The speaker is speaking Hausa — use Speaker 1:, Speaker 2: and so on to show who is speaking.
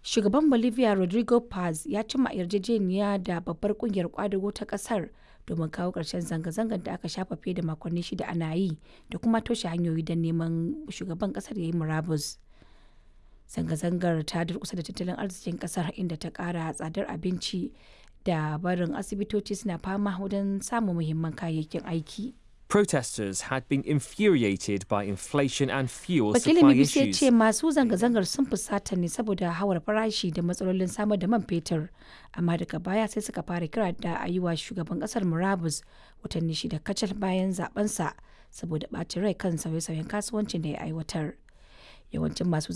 Speaker 1: Shugaban Bolivia Rodrigo Paz ya cimma yarjejeniya da babbar kungiyar kwadago ta kasar domin kawo ƙarshen zanga-zangar da aka shafa fiye da makonni 6 ana yi da kuma toshe hanyoyi don neman shugaban kasar ya yi murabus. Zanga-zangar ta durkusa da tattalin arzikin kasar, inda ta kara tsadar abinci da barin asibitoci suna fama wajen samun muhimman kayayyakin aiki.
Speaker 2: Protesters had been infuriated by inflation and fuel
Speaker 1: Wakilin
Speaker 2: supply
Speaker 1: BBC ya
Speaker 2: issues.
Speaker 1: ce masu zanga-zangar sun fusata ne saboda hawar farashi da matsalolin samar da man fetur, amma daga baya sai suka fara kira da a yi wa shugaban kasar murabus watanni 6 kacal bayan zabensa saboda ɓacin rai kan sauye-sauyen kasuwancin da ya aiwatar. Yawancin masu